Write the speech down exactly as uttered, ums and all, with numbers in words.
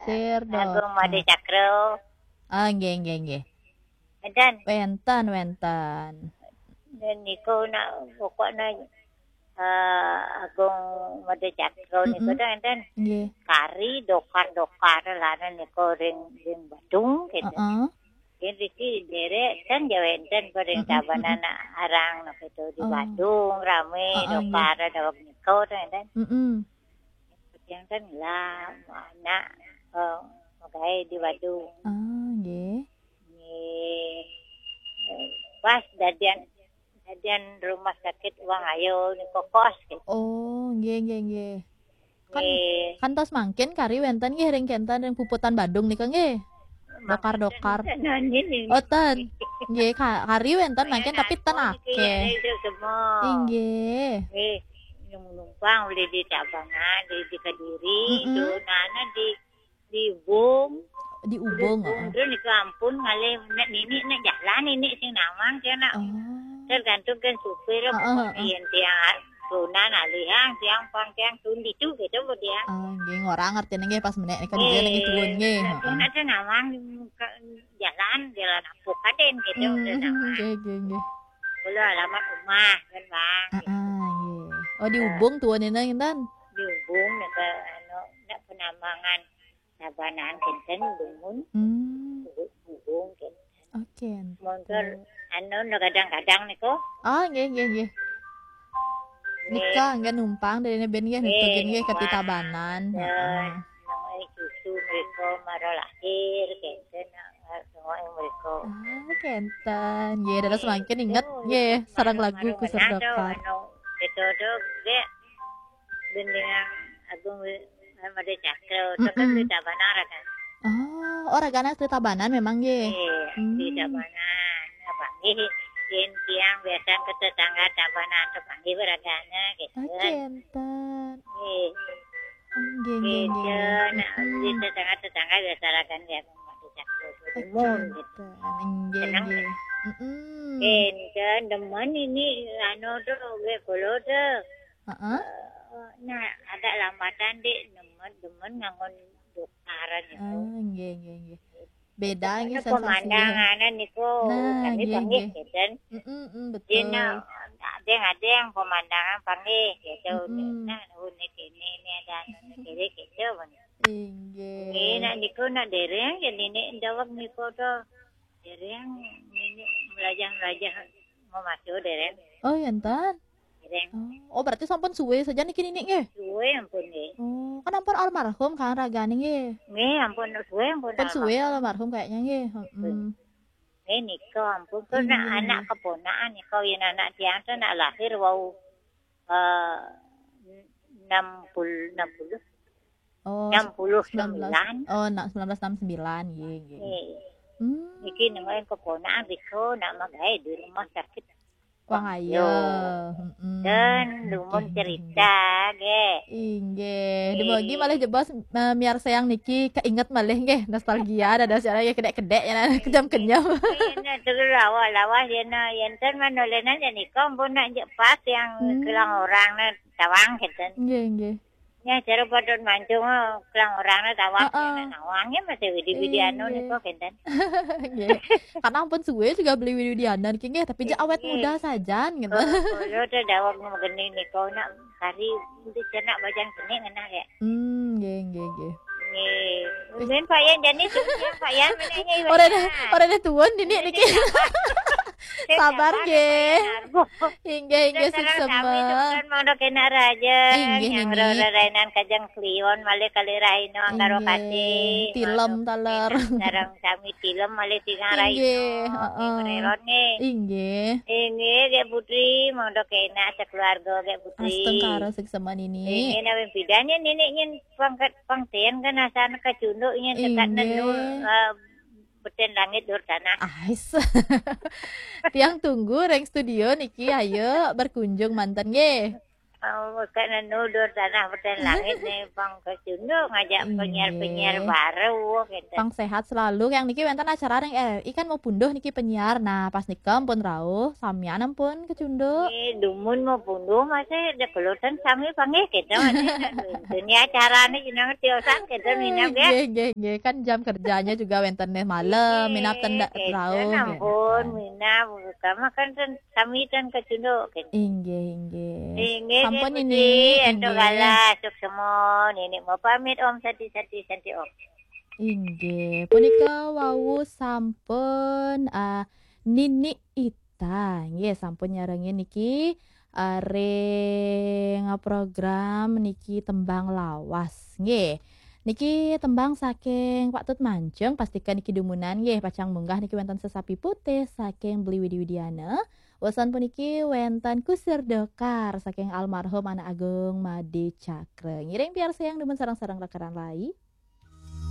Khawatir, Dokar. Agung Made Cakra. Ah, nggih, nggih, nggih. Wénten. Wénten, wénten. Dan niku nak pokoknya, eh, Agung Made Cakra niku, hmm, enten. Nggih. Kari dokar-dokar lah niku ring, ring Badung gitu. Heeh. Yen riki derek ten ya wénten pada, mm-mm, tabanan arang napa itu di, oh, Badung rame, heeh, nggih, dokar daweg nika ten. Mm-mm. Yang ten lah anak, eh, magaé di Badung. Ah, nggih. Nggih. Eh, pas dadian, dadian rumah sakit Wang Ayo niku kos gitu. Oh, nggih, nggih, nggih. Kan, nggih, kantos mangkin kari wénten nggih ring kénten ring puputan Badung nika nggih. Dokar-dokar. Mangkin ten nggih. Oh, ten. Nggih, ka-, kari wénten mangkin tapi ten akéh. Nggih, nggih. Nggih. Yang numpang udah di Tabanan, di, di Kediri, mm-mm, tuh, nah, nah, di, di Ubung. Di Ubung, di Ubung, heeh. Terus niku ampun ngalih nek nini nek jalan nini sing nawang kena. Oh. Tergantung kan supir apa, heeh, heeh, yen tiang tunan alihang, tiang pang tiang tun ditu gitu bu tiang. Oh, nggih, ngora ngertine nggih pas menek nika nggih, niki tuun nggih. Heeh. Nek nawang ke jalan, jalan apa kaden gitu, hmm, udah nawang. Nggih, nggih, nggih. Kula alamat rumah kan, Bang. Heeh, nggih. Oh, di Ubung tuun niki, Intan? Di Ubung nek anu nek Penambangan Tabanan kenten dumun. Hmm. Ubung kenten. Oke, montor enten. Anu no kadang-kadang niku. Oh, nggih, nggih, nggih. Nggih. Nika nggih numpang dari ben nggih, nggih, nika nggih, nggih, numpang. Keti Tabanan. Ya, heeh. Namanya cucu mereka mara lahir kenten, semua mereka. Ah, kenten. Nggih, dados mangkin inget nggih, sareng lagu Kusur Dokar. Anu, itu tuh, nggih. Gendingan Agung Wi-, Made Cakra, mm-mm, terus di Tabanan kan. Oh, oh, ragana di Tabanan memang nggih. Iya, di, hmm, Tabanan. Nah, panggih, yen tiang biasa ke tetangga Tabanan tuh panggih ragana gitu. Oh, kenten. Iya. Oh, nggih, nggih, nggih, gitu, nggih. Nah, di, mm-mm, tetangga-tetangga biasa ragana ya, Made Cakra. Oh, timun gitu. Kenten. Nggih, seneng nggih, gitu. Mm-mm. Kenten, demen ini, anu tuh, gue kulo tuh. Heeh. Eh, nah, agak lambatan, Dik, demen, demen nganggo dokaran itu. Ah, nggih, nggih, nggih. Beda nggih sensasi. Pemandangan niku, nah, kami nggih, panggih, nggih, gitu. Mm-mm, mm, betul. Dina, ada yang, ada yang pemandangan panggih, gitu. Mm-mm. Nah, unik ini, ini ada anu ini, gitu. Inggih. Ini nak niku nak dereng, ya nini daweg niku tuh. Dereng, nini melajah-melajah mau masuk dereng. Oh, ya, Intan? Dereng. Oh, oh, berarti sampun suwe saja niki nini nggih? Suwe ampun nggih. Oh, kan ampun almarhum kan ragane nggih? Nggih, ampun suwe ampun. Pun suwe almarhum. Almarhum kayaknya nggih. Heeh. Nggih, nika ampun, kok nak, iya, anak keponakan nika, yen anak tiang tuh nak lahir wau, eh, enam puluh, enam puluh. Oh, enam puluh sembilan. Oh, nak sembilan belas enam sembilan, nggih, nggih. Nggih. Hmm. Niki nengok keponakan riko nak magawe di rumah sakit. Wah, ayo. Iya. Mm-mm. Dan dumun, nggih, cerita, nggih. Inggih. Nggih. Dumugi malih jebos, eh, miarsa yang niki keinget malih nggih, nostalgia dados ya, ya kedek-kedek ya, kenyam-kenyam. Nggih, nah, terus lawas-lawas ya, nah, yen ten manolenan ya nika ampun nak jek pas yang, hmm, kelang orang nah tawang gitu. Nggih, nggih. Ya, cara padon mancung, oh, kelang orang nah tawang, heeh, ya, nah, nawangnya masih widi-widi anu, iya, nika kenten. Nggih. Karena ampun suwe juga beli widi-widianan ki nggih, tapi ja awet, nggih, muda sajan gitu. Oh, kalau udah dawang mau geni nih, kau nak kari untuk cenak bajang geni ngena ya. Hmm, nggih, nggih, nggih. Nggih. Mungkin Pak Yan, jadi siang Pak Yan, mana ini, Pak Yan? Ora deh, ora deh tuun ini niki. Sabar nggih. Inggih, inggih, seksama. Sekarang kami tuh kan mau kena raja, inggih, yang nini. Rainan kajang kliwon, malih kali raino, angkaro, inggih, kati. Tilem, taler. Sareng sami tilem, malih tingang raino. Inggih, heeh. Merelon nggih. Inggih. Inggih, Gek Putri, monggo kena sekeluarga Gek Putri. Astungkara seksama nini. Inggih, nawi bedanya nini nyen pangkat pangten kan asal kacunduk nyen dekat, inggih, nenul, eh, beten langit dur tanah. Ais. Tiang tunggu ring studio niki, ayo berkunjung manten nggih. Oh, kena nudur tanah beten langit nih, pang kecunduk ngajak Inggih. Penyiar-penyiar baru gitu. Pang sehat selalu. Yang niki wénten acara ring R R I kan mau punduh niki penyiar. Nah, pas nika ampun rauh, samian ampun kecunduk. Eh, dumun mau punduh masih ada kelutan sami panggih gitu. Ini acaranya jenengan tiosan gitu minap ya. Nggih, nggih, nggih. Kan jam kerjanya juga wénten nih malam, minap ten ndak Gitu, rauh. ampun, minap. Kamu kan ten sami ten kecunduk gitu. Inggih, inggih. Inggih, Sampun Gusti, ini, entuk inggih. Galah, sukses mon. Ini mau pamit Om, sati-sati, santi Om. Inggih, punika wau sampun ah, Nini Ita, nggih sampun nyarengin niki ah, ring program niki tembang lawas, nggih. Niki tembang saking Pak Tut Mancung, pastikan niki dumunan nggih, pacang munggah niki wénten Sesapi Putih saking Beli Widi Widiana. Wésan puniki wénten Kusir Dokar saking almarhum Anak Agung Made Cakra. Ngiring piarsayang dumun sareng-sareng rekan-rekan lai.